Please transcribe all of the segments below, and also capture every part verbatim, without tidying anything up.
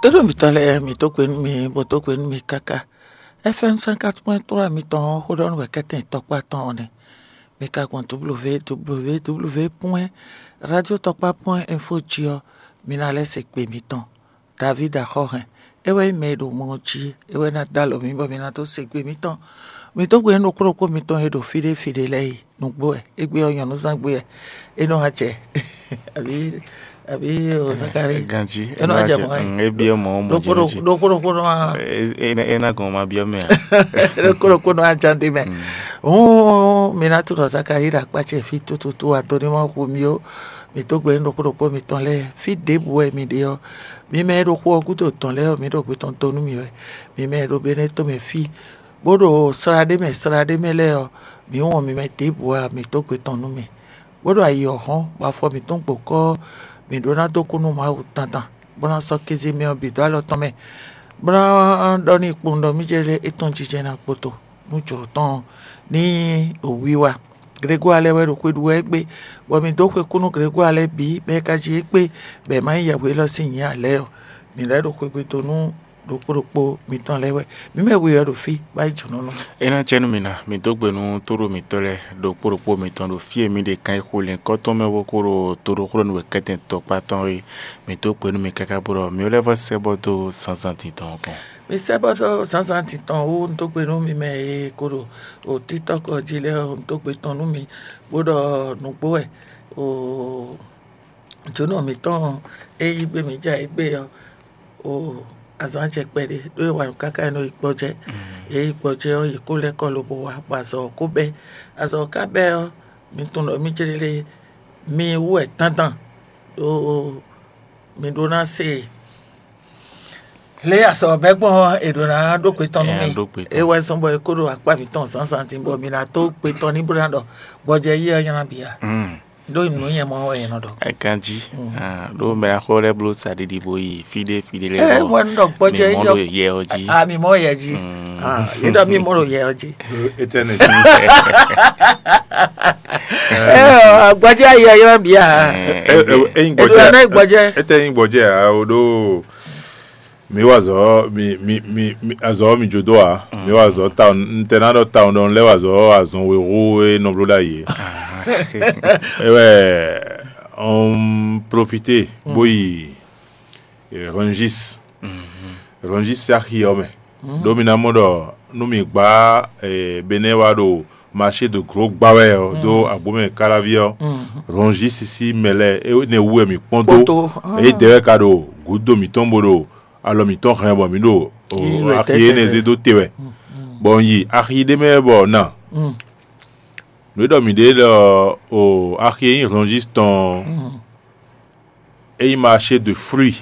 É ɖo mǐtɔn lɛ́ɛ, mǐ dó gbe nú mi, bó dó gbe nú mi káká. F M cinquante point trois mitɔn ɔ́, xó ɖɔ nú wɛ kɛ́tɛn tɔkpá tɔn ɔ́ nɛ́. Mi ka gbɔn www point radio tɔkpá point info jí ɔ́, mi ná lɛ́ se gbe mitɔn. David Axɔ́hɛn, é wɛ nyí mɛ e ɖo mɔ ɔ́ jí, é wɛ ná dó alɔ mǐ bɔ mi ná dó se gbe mitɔn. Mi dó gbe nú ɖokpó ɖokpó mitɔn e ɖo fí ɖé fí ɖé lɛ́ɛ yi. Nǔgbó wɛ, égbé ɔ́ nyɔ̌núzán gbé wɛ, é nɔ wá jɛ. Àbí àbí o Zakari? Ganji, é nɔ wá jɛ mɔ̌ wɛ. Mm, é biɔ mɔ̌ mɔ̌ Ɖokpó jí nú jí. Ɖokpó ɖokpó nɔ wá. É é é ná gɔn ma biɔ mɛ a? Ɖokpó ɖokpó nɔ wá ján dé mɛ. Mm. Hǔn mi ná tunɔ Zakari ɖo akpá ce fí tututu, ado ní ma hu mi ó. Mi dó gbe nú ɖokpó ɖokpó mitɔn lɛ́ɛ. Fí ɖěbǔ wɛ mi ɖe ɔ́, mi mɛ e ɖo xu ɔ́ gúdo tɔn lɛ́ɛ ɔ́, mi ɖo gbe tɔn dó nú mi wɛ. Mi mɛ e ɖo Benɛ́ to mɛ fí, bó ɖo slá ɖé mɛ slá ɖé mɛ lɛ́ɛ ɔ́, mǐ wɔn mi mɛ ɖěbǔ ǎ, mǐ dó gbe tɔn nú mi. Bó ɖo ayi ɔ́ hɔ́n, bɔ afɔ mǐtɔn gbo kɔ́, mǐ ɖó ná dó kú nú Mawu dandan, bó ná sɔ́ kéze mɛ ɔ́ bǐ dó alɔ tɔn mɛ, bó ná ɖɔ n'i kpowun ɖɔ mì jɛ lé étɔn jijɛ ná kpoto nú jlǒ tɔn ɔ́, ní wǐwá. Glegwáa lɛ́ɛ wɛ ɖo xwe ɖu wɛ égbé, bɔ mǐ dó xwe kú nú Glegwáa lɛ́ɛ bǐ, bɔ é ka jí égbé, bɔ è ma nyí yɛhwe élɔ́ sín nyǐ ǎ lɛ́ɛ ɔ́, mǐ lɛ́ ɖo xwegbe dó nú ɖokpó ɖokpó mitɔn lɛ́ɛ wɛ. Mǐ mɛ we ɔ́ ɖo fí, bó yi jǒnɔ nú. É ná jɛ nú mi ná, mi dó gbe nú tóɖó mǐtɔn lɛ́ɛ ɖokpó ɖokpó mitɔn ɖo fí e mi ɖe kan e xo lɛ̌nkɔ́ tɔn mɛ bó kó ɖo toɖokplɔ́nú wɛ kɛ́tɛn tɔkpá tɔn é. Mi dó gbe nú mi káká bó ɖɔ mi lɛ́ vɔ sɛ́ bɔ dó zǎnzǎn din tɔn kɔn. Mi sɛ́ bɔ dó zǎnzǎn din tɔn wú, un dó gbe nú mi mɛ e ko ɖo o TikTɔk jí lɛ́ɛ, un dó gbe tɔn nú mi, bó ɖɔ nǔgbó wɛ o jǒnɔ mǐtɔn e yí gbe mǐ ja égbé ɔ́, o azǎn jɛ kpɛɖé ɖó e wa nǔ káká e nɔ yi gbɔjɛ́. E yi gbɔjɛ́ ɔ́, yě kó lɛ́ kɔ lobo wá, bɔ azɔ̌ ɔ́ kó bɛ́. Azɔ̌ ɔ́ ka bɛ́ ɔ́, mi tunwun ɖɔ mì céɖéɖé mi wú wɛ tántán ɖó mi ɖó ná se lě azɔ̌ ɔ́ bɛ́ gbɔn ɔ́, è ɖǒ ná ɖó gbe tɔn nú mi. É wɛ zɔ́n bɔ é kó ɖo akpá mǐtɔn zǎnzǎn din, bɔ mi ná dó gbe tɔn ní bó ná ɖɔ gbɔjɛ́ yí ɔ́ nylá bǐ ǎ. Ɖó nǔ nyɛ mɔ wɛ nyɛ nɔ ɖɔ. Ganjí. Ɖó mɛ axɔ lɛ́ɛ bló saɖiɖi bó yi fí ɖé fí ɖé lɛ́ɛ. Ɛ wɛ un ɖɔ gbɔjɛ mi mɔ ɖo yɛ ɔ jí. A mi mɔ yɛ jí. Yé ɖɔ mi mɔ ɖo yɛ ɔ jí. Etɛnɛ. Ɛ gbɔjɛ ayɛ yɛ bia. Eyin Eɖo gbɔjɛ ɛnɛ gbɔjɛ. Etɛ yin gbɔjɛ a o ɖo mi wa azɔ mi mi mi mi azɔ mi jo do a mi wa azɔ ta n tɛ na ɖɔ ta n ɖɔ n lɛ wa azɔ azɔn we hu e nɔ blo ɖ'ayi e wɛ on profite bo yi Rangis. Rangis axi ɔ mɛ ɖo mi na mɔ ɖɔ nu mi gba bene wa ɖo marché de gros gba wɛ ɔ do agbo mɛ kalavi ɔ Rangis si mɛ lɛ ne wu wɛ mi kpɔn do e dɛ wɛ ka ɖo gudo mitɔn bo ɖo alɔ mǐtɔn hɛn bɔ mǐ ɖo axi énɛ́ zé dó te wɛ, bɔ un yi axi ɖé mɛ bɔ na nǔ e ɖɔ mǐ ɖe ɖɔ o axi e nyí Rangis tɔn ɔ́, é nyí marché de fruit,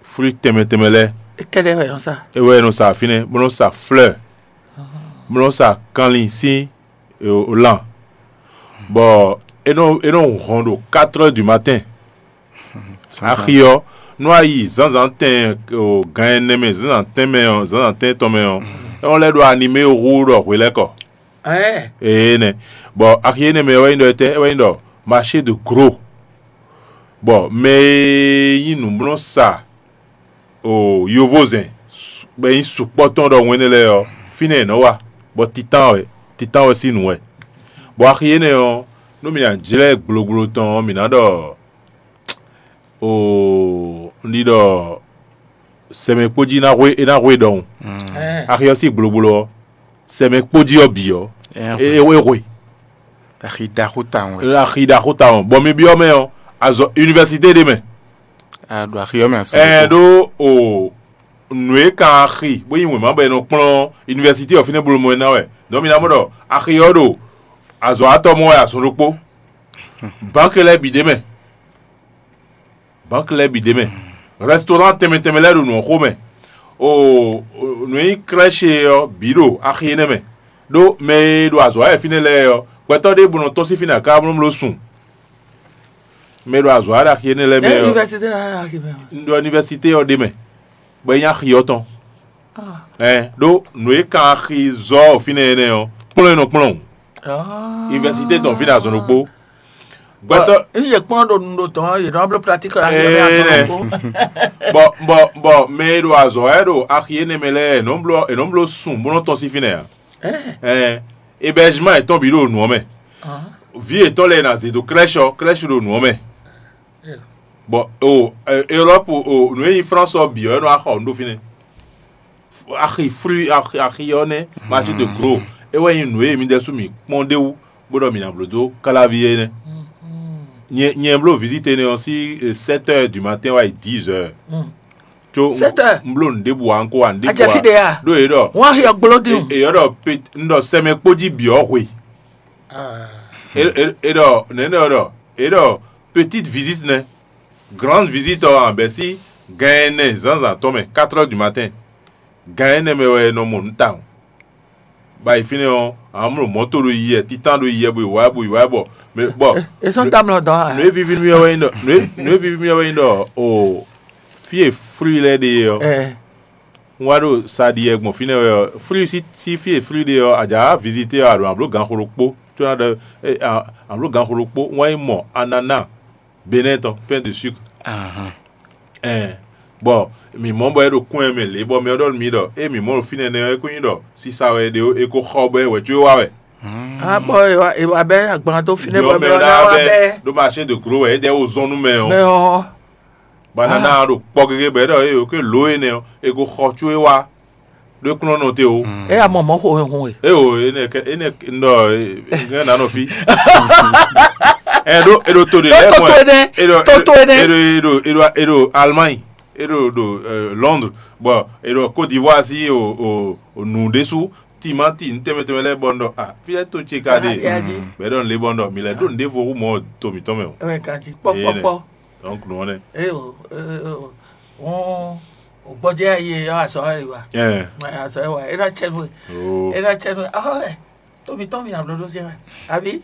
fruit tɛnmɛ tɛnmɛ lɛ́ɛ. É kɛ́ɖɛ́ wɛ nɔ sa. É wɛ nɔ sa fínɛ́, bó nɔ sa fleur, bó nɔ sa kanlin sín lan, bɔ é nɔ é nɔ hɔn ɖo quatre heures du matin. Axi ɔ́, nú a yi zǎnzǎn tɛn o gan ɛnɛ mɛ zǎnzǎn tɛn mɛ ɔ́, zǎnzǎn tɛn tɔn mɛ ɔ́, é nɔ lɛ́ ɖo animé hu ɖɔ hwelɛ́kɔ. Ee nɛ, bɔ axi énɛ́ mɛ wɛ nyí ɖɔ etɛ́? É wɛ nyí ɖɔ marché de gros, bɔ mɛ e nyí nǔmlɔ́sa o yovózɛn bɔ é nyí sukpɔ́ tɔn ɖɔhun énɛ́ lɛ́ɛ ɔ́, fínɛ́ yě nɔ wa, bɔ titán wɛ titán wɛ sín nǔ wɛ. Bɔ axi énɛ́ ɔ́, nú mǐ ná jlɛ́ gblogblo tɔn ɔ́, mǐ ná ɖɔ o un ɖi ɖɔ sɛmɛ kpó jí ná hwe é ná hwe ɖɔhun. Axi ɔ́ sín gblogblo ɔ́, sɛmɛ kpó jí ɔ́ bǐ ɔ́, é é hwe. Axi ɖaxó tawun wɛ. Axi ɖaxó tawun bɔ mi byɔ́ mɛ ɔ́, azɔ université ɖé mɛ. A ɖo axi ɔ́ mɛ asɔ. Ɛɛ ɖó o nǔ e kan axi bó nyí wěma bɔ è nɔ kplɔ́n université ɔ́ fínɛ́ bolo mɔ ɛ ná wɛ. Donc mi ná mɔ ɖɔ axi ɔ́ ɖo azɔ̌ atɔ́ mɔ wɛ azɔn ɖokpó. Banque lɛ́ɛ bǐ ɖ'é mɛ. Banque lɛ́ɛ bǐ ɖ'é mɛ. Restaurant tɛnmɛ tɛnmɛ lɛ́ɛ ɖo nǔ ɔ́ xo mɛ. O nǔ e nyí crèche ɔ́ bǐ ɖo axi énɛ́ mɛ. Ɖó mɛ e ɖo azɔ̌ wa wɛ fínɛ́ lɛ́ɛ ɔ́, gbɛtɔ́ ɖěbǔ nɔ tɔ́n sín fínɛ́ akáblobló sun. Mɛ e ɖo azɔ̌ wa ɖo axi énɛ́ lɛ́ɛ mɛ ɔ́, un ɖo université ɔ́ ɖ'é mɛ, bɔ é nyí axi ɔ́ tɔn. Ɛn ɖó nǔ e kan axi zɔ fínɛ́ énɛ́ ɔ́, kplɔ́n e nɔ kplɔ́n. Université tɔn fínɛ́ azɔn ɖokpó. Gbɛtɔ́. N yě kplɔ́n ɖo nu ɖo dɔn, yě nɔ bló pratique la yě mɛ azɔn ɖokpó. Bɔ bɔ bɔ mɛ e ɖo azɔ̌ wɛ ɖo axi énɛ́ mɛ lɛ́ɛ, è nɔ bló è nɔ bló sùn bó nɔ tɔ́n sín fínɛ́ ǎ. Ɛɛ, hébergement yětɔn bǐ ɖo nǔ ɔ́ mɛ. Vǐ yětɔn lɛ́ɛ ná zě dó crèche ɔ́, crèche ɖo nǔ ɔ́ mɛ. Bɔ o Europe, o nǔ e nyí France ɔ́ bǐ ɔ́, é nɔ wá xɔ nǔ ɖo fínɛ́. Axi fruit, axi axi ɔ́ nɛ́, marché de gros. É wɛ nyí nǔ e mi ɖésú mi kpɔ́n ɖé wú, bó ɖɔ mi ná bló dó káláví é nɛ́. Nyɛ nyɛ bló visite énɛ́ ɔ́ sín sept heures du matin wá yi dix heures. Tso Sept heures. Un bló nǔ ɖěbǔ ǎ, un ko wa nǔ ɖěbǔ Ajɛ fí ɖe a? Ɖó yě ɖɔ Wọ́n á hiɛ gbló dín o. È yɔ́ ɖɔ pet- un ɖɔ sɛmɛ kpó jí bǐ ɔ́ hwe. Ah. É é é ɖɔ nɛ̌ nɛ ɔ́ ɖɔ é ɖɔ petite visite nɛ́, grande visite ɔ́ ǎ bɛ́ sí gan ɛnɛ zǎnzǎn tɔn mɛ, quatre heures du matin. Gan énɛ́ mɛ wɛ è nɔ mɔ nǔ tawun. Ba yi fínɛ́ ɔ́, amlɔ mɔ̌to ɖo yi wɛ, títán ɖo yi wɛ, bo yi wá, bo yi wá bɔ mɛ bɔ È sɔ́ dó amlɔ dɔn a? Nǔ e víví nú mì ɔ́ wɛ nyí ɖɔ nǔ e nǔ e víví nú mì ɔ́ wɛ nyí ɖɔ o fí e flú lɛ́ɛ ɖe é ɔ́, Ɛ, un wá ɖo sa ɖi wɛ gbɔn fínɛ́ wɛ ɔ́, flú sí sí fí e flú ɖe ɔ́, a jǎ wá vizité ɔ́, a ɖo amló ganxo ɖokpó, có ná ɖɔ amló ganxo ɖokpó, un wá yi mɔ ananá Benɛ́ɛ tɔn, pain de sucre. Ahan. Ɛɛ, bɔ mǐ mɔ bɔ é ɖo kún ɛ mɛ lě, bɔ mɛ ɔ́ ɖɔ nú mì ɖɔ ée mǐ mɔ ɖo fínɛ́ nɛ́ ɔ́, é kó nyí ɖɔ sisa wɛ è ɖe ó, è ko xɔ bɔ é wɛ̌ có é wá wɛ. Ah, bɔ è wá è wá bɛ́ agban dó fínɛ́ Ɖyɔ̌ bɔ mɛ mɛ ɔ́ ɔ́ ná ná wá wá bɛ́ bɛ́ ɖó marché de gros wɛ é ɖɛ́ wó zɔ́n nú mɛ ɔ́. Mɛ ɔ́. Banana ɔ́ ɖo kpɔ gégé bɔ é ɖɔ é ko lǒ énɛ́ ɔ́, è ko xɔ có é wá ɖó é kún nɔ nɔ te ó. É ya mɔ mɔ̌ xo hɛn hun e. É o énɛ́ kɛ énɛ́ un ɖɔ é nɔ nɔ fí. Ɛ ɖó é ɖo to ɖe lɛ́ɛ Toto mɔ ɛ. Énɛ́. É ɖo Toto énɛ́. É ɖo é ɖo é ɖo é ɖo Allemagne. É ɖo ɖo Londres. Bɔ é ɖo Côte d'Ivoire sí o o o nǔ ɖésú timati nǔ tɛnmɛ tɛnmɛ lɛ́ɛ bɔ un ɖɔ a fí lɛ́ɛ to ce ka ɖe. Bɛ̌ ɖɔ un lě bɔ un ɖɔ mǐ lɛ́ ɖo nǔɖévo hú mɔ to mǐtɔn mɛ o. Ɛmɛ kan jí kpɔkpɔkpɔ. Donc nǔ ɔ́ nɛ́. Eyo, wọn gbɔjɛ ye yɔ azɔ wa wa. Ɛɛ. Azɔ wa e na cɛ nu. Oo. E na cɛ nu. Ɔhɔ, to mǐtɔn mi ablo ɖo se wa. Abi.